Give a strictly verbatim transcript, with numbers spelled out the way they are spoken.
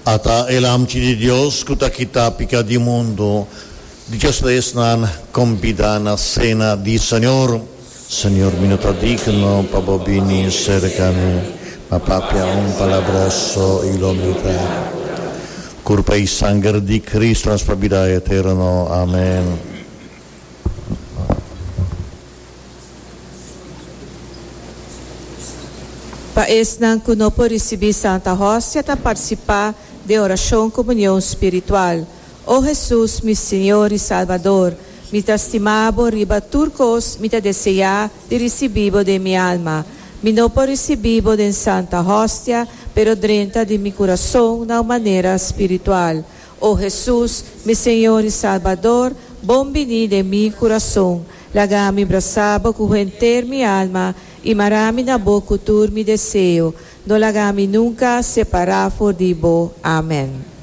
Ata e Lamchi di Dios ku ta kita piká di mundu. Dichoso esnan kombidá na sena di Señor. Señor, mi no ta digno pa bo bini serka mi, ma papia un palabra so i lo mi ta. Kurpa i sanger di Kristu nos pa bida eterno. Amèn. Pa esnan ku no por risibí Santa Hostia ta partisipá den orashon komunion spiritual. O Hesus, mi Señor i Salbador, mi ta stima bo riba tur kos, mi ta deseá di risibí bo den mi alma. Mi no por risibí bo den Santa Hostia, pero drenta den mi kurason na manera spiritual. O Hesus, mi Señor i Salbador, bon bini den mi kurason. Laga mi brasa bo ku henter mi alma i mara mi na bo ku tur mi deseo. No laga mi nunka separá for di bo. Amèn.